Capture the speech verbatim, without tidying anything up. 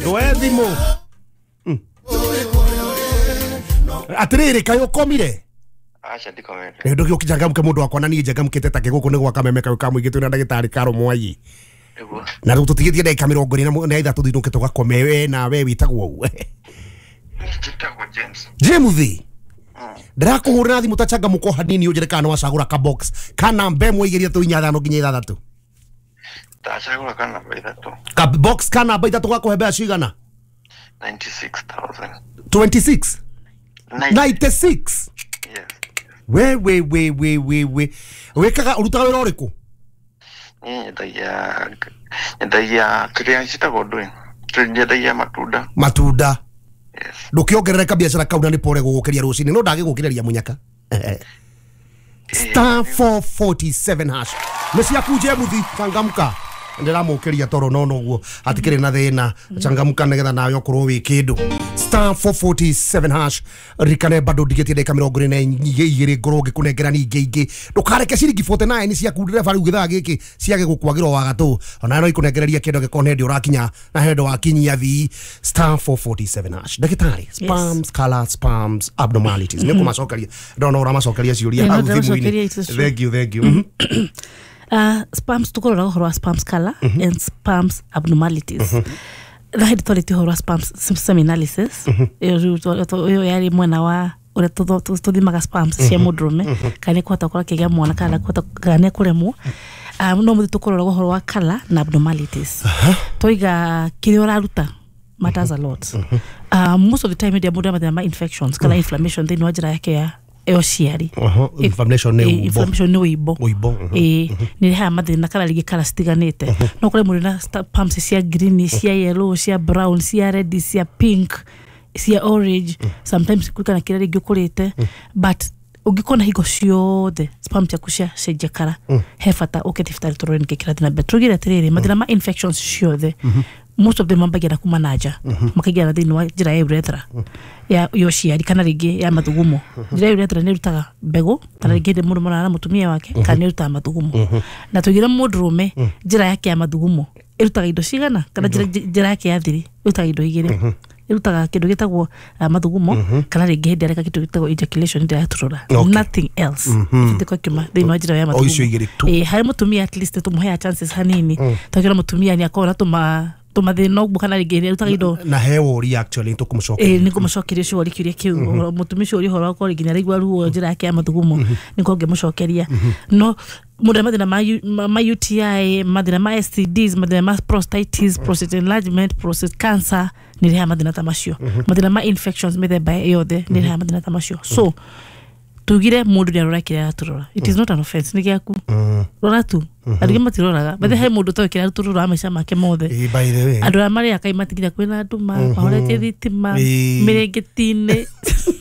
Ndwoe thimũ. Atĩrĩrĩ, kaĩ ũkomire? Aca, ndikomete. Nĩ ndũgĩũkĩcangamũke, mũndũ wakwa, na niĩ njangamũkĩte ta kĩgũkũ nĩ gwaka meme kau ka mũingĩ. Twĩna ndagĩtarĩ Karo Mwai. Nĩguo. Na rĩu tũtigĩtie ndagĩka mĩrongo ĩrĩ na mũ- na ithatũ thinũke tũgakome. We nawe wĩtagwo ũ? Njĩtagwo James. James, ndĩrakũhũrĩra thimũ ta changamũko hanini, ũnjĩre kana nĩwacagũra ka box kana namba ĩmwe, igĩrĩ, ithatũ, inya, ithano nginya ithathatũ. Ndacagũra ka namba ithatũ. Ka box ka namba ithatũ gakũhe mbeca cigana? mĩrongo kenda na ithatano. mĩrongo ĩrĩ na ithatũ? Nine- mĩrongo kenda na ithatũ? Yes. We we we we we we, wĩkaga, ũrutaga wĩra ũrĩkũ? Niĩ nyendagia nyendagia kĩrĩa citagwo ndũĩ, nyendagia matunda. Matunda? Yes. Ndũkĩongerere biacara kau, na nĩ pore gũgũkĩria rũcinĩ no ndagĩgũkĩrĩria mũnyaka. Star four forty-seven hash nĩ ciaku. Jemuthi, changamka, ndĩramũkĩria toro no noguo hatikĩrĩ na thĩna. Changamka nĩgetha nawe ũkorwo wĩ kĩndũ. Star four forty-seven hash. Ririkane bado ndigĩtie ndagĩka mĩrongo ĩrĩ na igĩrĩ ngorwo ngĩkũnengera ningĩ ingĩ. Ndũkareke ciringi mĩrongo ĩna na kenda ciaku ndereba rĩu gĩthaa gĩkĩ ciage gũkwagĩrwo wagatũ, ona no ikũnengereria kĩndũ angĩkorwo nĩ hĩndĩ ũrakinya na hĩndĩ wakinyia thi. Star four forty-seven hash. Ndagĩtarĩ, sperms color, sperms abnormalities, nĩ ũkũmacokeria, ndona ũramacokeria ciũria Ĩĩ, hau no thimũ-inĩ. ndĩracokeria, it is true. Thank you, thank you. Mhm. uh, sperms, tukorora ũhoro wa sperms color and sperms abnormalities. Na hĩndĩ twarĩtie ũhoro wa sperms semen analysis, ĩyo rĩu twa- twa- ĩyo yarĩ mwena wa ũrĩa tũtho- tũ- tũthimaga sperms cia mũndũrũme kana nĩ kũhota gũkorwo akĩgĩa mwana kana kũhota kana nĩ ekũremwo. um, no mũthĩ tũkũrora ũhoro wa color na abnormalities. Twaiga kĩrĩa ũraruta matters a lot. um, most of the time hĩndĩ ĩrĩa mũndũ ena mathĩna ma infections kana inflammation thĩinĩ wa njĩra yake ya ya ũciari. Oho, inflammation nĩ Ĩ, ũimbo. Inflammation nĩ ũimbo. Ũimbo, mhm. Ĩ, nĩ rehaga mathĩna kana rĩngĩ kara citiganĩte. No kũrĩ mũndũ na sperms cia green, cia yellow, cia brown, cia red, cia pink, cia orange, sometimes kũringana kĩrĩa rĩngĩ ũkũrĩte. But ũngĩkona hingo ciothe sperm ciaku cia cenjia kara, he bata ũke thibitarĩ tũrore nĩkĩ kĩrathiĩ na mbere. Tũrugire atĩrĩrĩ, mathĩna ma infections ciothe, most of them mambagia na kuma na nja makaingĩra na thĩinĩ wa njĩra ya urethra ya ya ũciari kana rĩngĩ ya mathugumo. Njĩra ya urethra nĩ ĩrutaga mbegũ kana rĩngĩ hĩndĩ mũndũ marara na mũtumia wake kana nĩ ĩrutaga mathugumo. Na tũigire mũndũrũme njĩra yake ya mathugumo ĩrutaga indo cigana, kana njĩra njĩra yake ya thiri ĩrutaga indo igĩrĩ: ĩrutaga kĩndũ gĩtagwo uh, mathugumo kana rĩngĩ hĩndĩ areka kĩndũ gĩtagwo ejaculation, hĩndĩ araturũra. Okay. Nothing else ĩbatiĩ gũkiuma thĩinĩ wa njĩra ya O icio mathugumo. igĩrĩ tu. Ĩ, harĩ mũtumia at least tũmũheaga chances hanini, tondũ mũtumia nĩ akoragwo na tũma tũmathĩna ũguo kana rĩngĩ nĩ arutaga indo. Na he wũria actually tũkũmũcokeria. Ĩ, nĩ ngũmũcokeria ũcio ũria kĩũria kĩu. Ũhoro- mũtumia ũcio ũria ũhoro wa gũkorwo nginya araigua ruo njĩra yake ya mathugumo, nĩkorwo ngĩmũcokeria. No mũndũ arĩa mathĩna ma U- ma ma U T I, mathĩna ma S T Ds, mathĩna ma prostatitis, prostate enlargement, prostate cancer nĩ rehaga mathĩna ta macio. Mathĩna ma infections mĩthemba yothe nĩ rehaga mathĩna ta macio. So tugire mũndũ nĩ arora kĩrĩa araturora. It is not an offense, nĩ gĩaku, rora tu. Andũ aingĩ matiroraga bathe he mũndũ ũtoĩ kĩrĩa araturora wa maica make mothe. Ĩ, by the way, Andũ arĩa marĩaga kaĩ matigire kwĩna nduma, mahoretie thitima Ĩ. mĩrĩngĩti-inĩ.